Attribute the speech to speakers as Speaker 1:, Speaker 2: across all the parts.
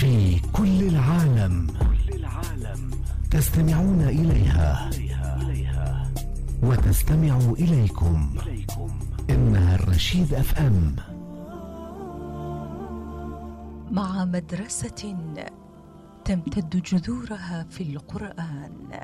Speaker 1: في كل العالم تستمعون إليها وتستمع إليكم. إنها الرشيد FM.
Speaker 2: مع مدرسة تمتد جذورها في القرآن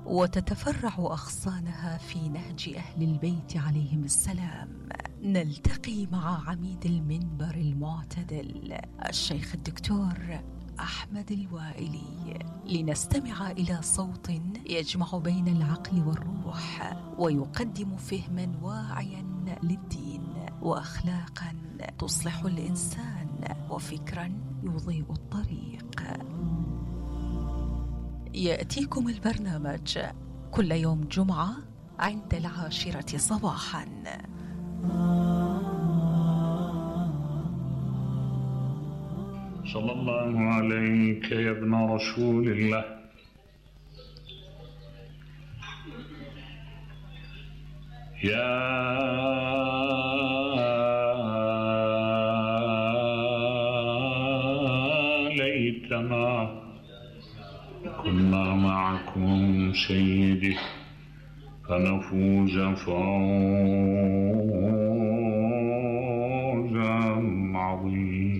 Speaker 2: وتتفرع أغصانها في نهج أهل البيت عليهم السلام، نلتقي مع عميد المنبر المعتدل الشيخ الدكتور أحمد الوائلي لنستمع إلى صوت يجمع بين العقل والروح ويقدم فهما واعيا للدين وأخلاقا تصلح الإنسان وفكرا يضيء الطريق. يأتيكم البرنامج كل يوم جمعة عند 10 صباحا.
Speaker 3: صلى الله عليك يا ابن رسول الله. يا ليتنا كنا معكم سيدي فنفوز فوزا عظيما.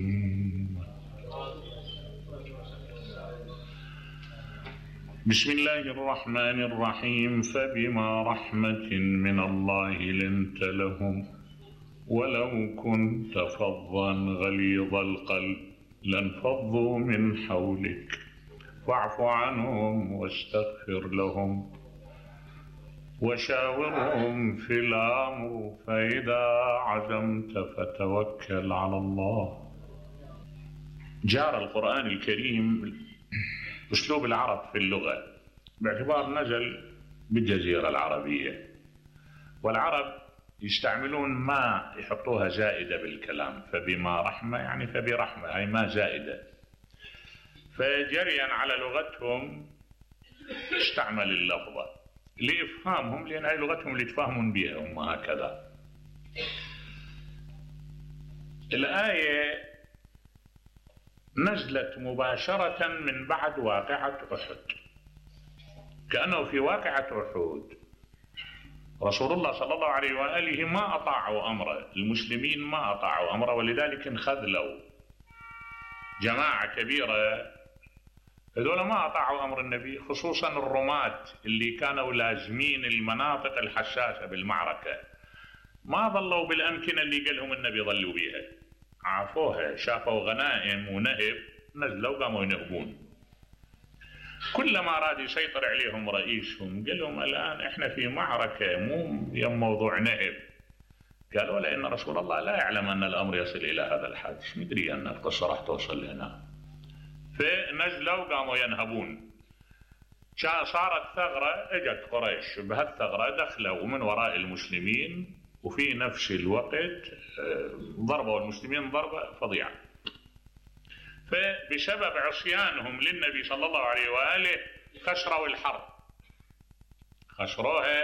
Speaker 3: بسم الله الرحمن الرحيم. فبما رحمة من الله لنت لهم ولو كنت فظا غليظ القلب لانفضوا من حولك فاعف عنهم واستغفر لهم وشاورهم في الأمر فإذا عزمت فتوكل على الله. جار القرآن الكريم أسلوب العرب في اللغة باعتبار نزل بالجزيرة العربية، والعرب يستعملون ما يحطوها زائدة بالكلام، فبما رحمة يعني فبرحمة، هي ما زائدة، فجريا على لغتهم استعمل اللفظة لإفهامهم، لأن هي لغتهم اللي يتفاهمون بها هم هكذا. الآية نزلت مباشرة من بعد واقعة أحد، كأنه في واقعة أحد رسول الله صلى الله عليه وآله ما أطاعوا أمره، المسلمين ما أطاعوا أمره، ولذلك انخذلوا جماعة كبيرة، هذول ما أطاعوا أمر النبي، خصوصا الرماة اللي كانوا لازمين المناطق الحساسة بالمعركة، ما ظلوا بالأمكنة اللي قالهم النبي ظلوا بيها، عافوها، شافوا غنائم ونهب نزلوا قاموا ينهبون. كلما أراد يسيطر عليهم رئيسهم قال لهم الآن إحنا في معركة مو يوم موضوع نهب، قالوا لأن رسول الله لا يعلم أن الأمر يصل إلى هذا الحد، مش مدري أن القصة راح توصل لهنا، فنزلوا قاموا ينهبون. صارت ثغرة، اجت قريش بهالثغرة دخلوا من وراء المسلمين، وفي نفس الوقت ضربوا المسلمين ضربة فظيعة. فبسبب عصيانهم للنبي صلى الله عليه وآله خسروا الحرب، خسروها